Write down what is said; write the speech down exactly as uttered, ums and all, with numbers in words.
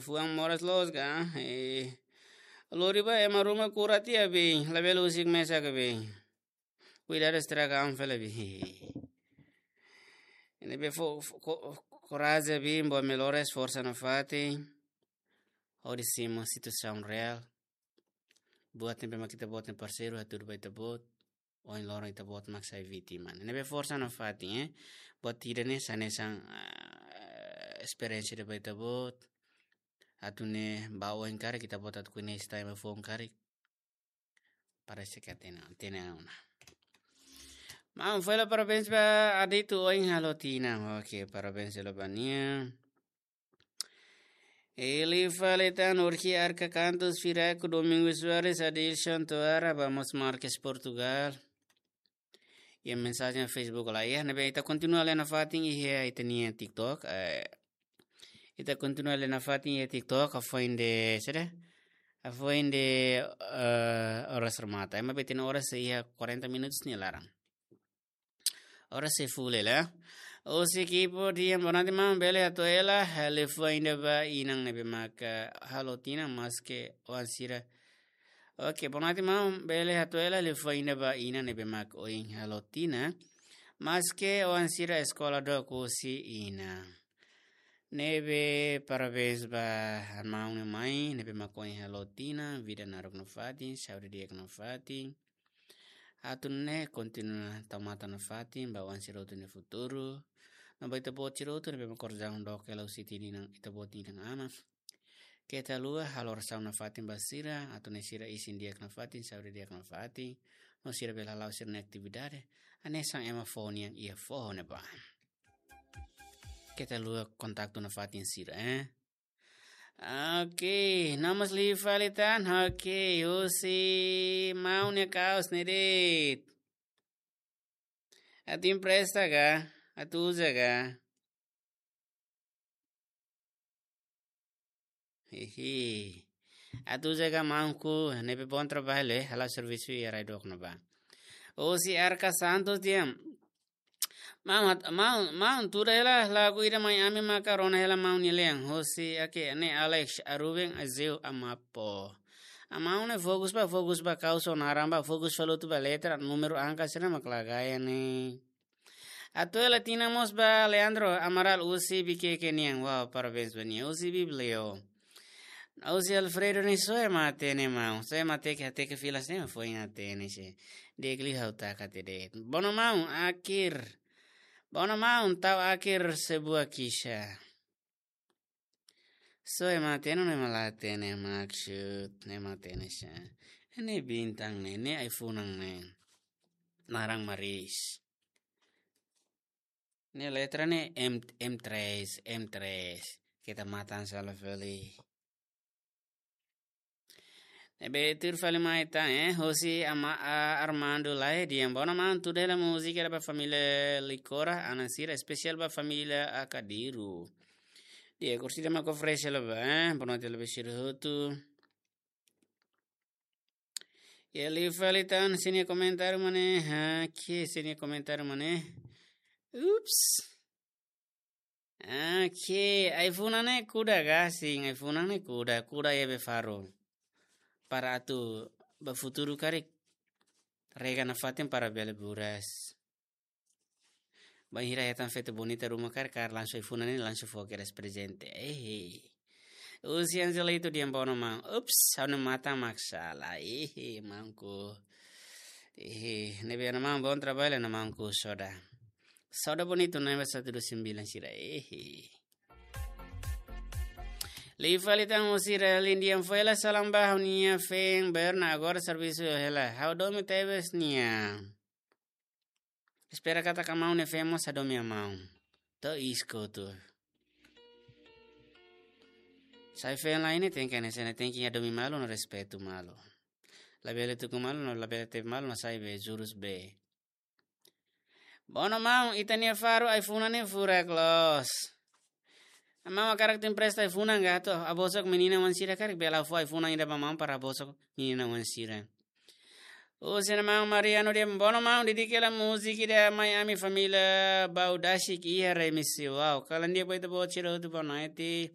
Fuan moras loos ka? Eh, lori ba ema ruma kura tiha be, labele husik mesak be. Kuidadu estraga an fali be. Ne'ebé fó, fó, ko-, korajen be, boot melhores, forsa nafatin. Hodi simu situasaun reál. Buat ne'ebé mak ita-boot nia parseiru hatudu ba ita-boot. Ohin loron ita-boot mak sai vítima. Ne'ebé forsa nafatin, eh. Buat ida-ne'e sai hanesan, ah, esperiénsia ida ba ita-boot. Atu nune'e ba oin karik ita-boot atu koñese ema foun karik. Parese ke hatene, hatene ona. Maun, fó hela parabéns ba Aditu ohin halo tinan. Oke, parabéns hela ba nia. Ele fala tan, Orki Arca Cantos, Firaco, Domingos Soares, Adilson Toara, Vamos Marques, Portugal. Iha mensajen Facebook laiha, ne'ebé ita kontinua lee nafatin iha ita-nia TikTok, eh, ita kontinua lee nafatin iha TikTok, hafoin de, saida? Hafoin de, eh, oras remata. Ema bele hatene oras iha quarenta minutos nia laran. Oras sei full hela. Husi ekipa di'ak, boa noite maun, bele hato'o hela, liafuan ida ba inan ne'ebé maka halo tinan maske oan sira. Oke, boa noite maun, bele hato'o hela, liafuan ida ba inan ne'ebé maka ohin halo tinan. Maske oan sira eskola dook husi inan. Ne'ebé parabéns ba maun no mai, ne'ebé maka ohin halo tinan, vida naruk nafatin, saúde di'ak nafatin. Atu nune'e kontinua tau matan nafatin ba oan sira hotu nia futuru. No ba ita-boot sira hotu ne'ebé mak korizaun dook hela husi tinan ita-boot nia inan-aman. Keta haluha halo orasaun nafatin ba sira, atu nune'e sira isin di'ak nafatin, saúde di'ak nafatin. No sira bele hala'o sira-nia atividade hanesan ema foho nian iha foho ne'ebá. Keta haluha kontaktu nafatin sira, eh. Oke, no mós liu fali tan. Oke, husi maun nia kaos ne'e de'it. Atu empresta ka? Atu uza ka? Hihi. Atu uza ka maunku, ne'ebé bom trabalho, eh? Hala'o servisu iha rai dook ne'ebá. Husi Arca Santos di'ak. Maun, maun, maun, tuda hela lagu ida mai ami maka rona hela maun nia lean. Hosi ake ne'e Alex, Aruben, Azeu, Amapo. Maun ne'e fokus ba, fokus ba kaus ho naran ba, fokus fali hotu ba letra, númeru, angka sira mak la gaya ne'e. Atu hela tinan mós ba Leandro Amaral husi Viqueque nian. Wow, parabéns ba nia. Husi Biblio. Husi Alfredo ne'e soe ema hatene maun. Soe ema hateke, hateke fila sira ema foin hatene se. Di'ak liu ha'u taka tiha de'it. Bono maun, akhir. Bono maun, tau akhir sebuah kisah. Soe ema hatene, no ema la hatene maksud, no ema hatene sa. Ne'e bintang ne'e, ne'e ai-funan ne'e. Naran Maris. Ne'e letra ne'e M, M tres, M tres. Keta matan sala fali. Ne'ebé tuir fali mai tan, eh, hosi ama, a, Armando Lae, di'ak, bono maun, tuda hela múzika ida ba família Licora, Ana Sira, espesiál ba família Akadiru. Di'ak, kursi ida mak oferese hela ba, eh, boa noite hela ba sira hotu. Iha liu fali tan, sira-nia komentáriu mak ne'e, ha, ke sira-nia komentáriu mak ne'e. Ups. Oke, ai-funan ne'e kuda ka, sin, ai-funan ne'e kuda, kuda iha be faru. Para atu ba futuru karik rega nafatin para bele buras. Bainhira hetan feto bonita ruma karik, karik langsung ai-funan ne'e langsung fó kedas prezente. Eh. Husi Angelito di'ak, bono maun. Ups, ha'u-nia matan mak sala. Eh, maunku. Eh, ne'ebé ona maun, bom trabalho ona maunku, soda. Soda bonito, naiba satu dua sembilan sira. Eh. Liu fali tan husi Relin di'ak, fó hela salam ba ha'u-nia feen Berna, agora servisu hela. Ha'u domin tebes nia. Espera katak maun nia feen mós hadomi maun. To'o iis kotuk. Sai feen lain ne'e tenke hanesan ne'e, tenke hadomi malu no respeitu malu. Labele tuku malu no labele tebe malu no sai be jurus be. Bono maun, ita-nia faru ai-funan ne'e furak loos. Maun hakarak atu empresta ai-funan ka atu habosok menina oan sira karik, bele fó ai-funan ida ba maun para habosok menina oan sira. Husi maun Mariano di'ak, bono maun, dedika hela múzika ida mai ami família Baudasik iha remisi. Wow, kalan di'ak ba ita-boot sira hotu, boa noite.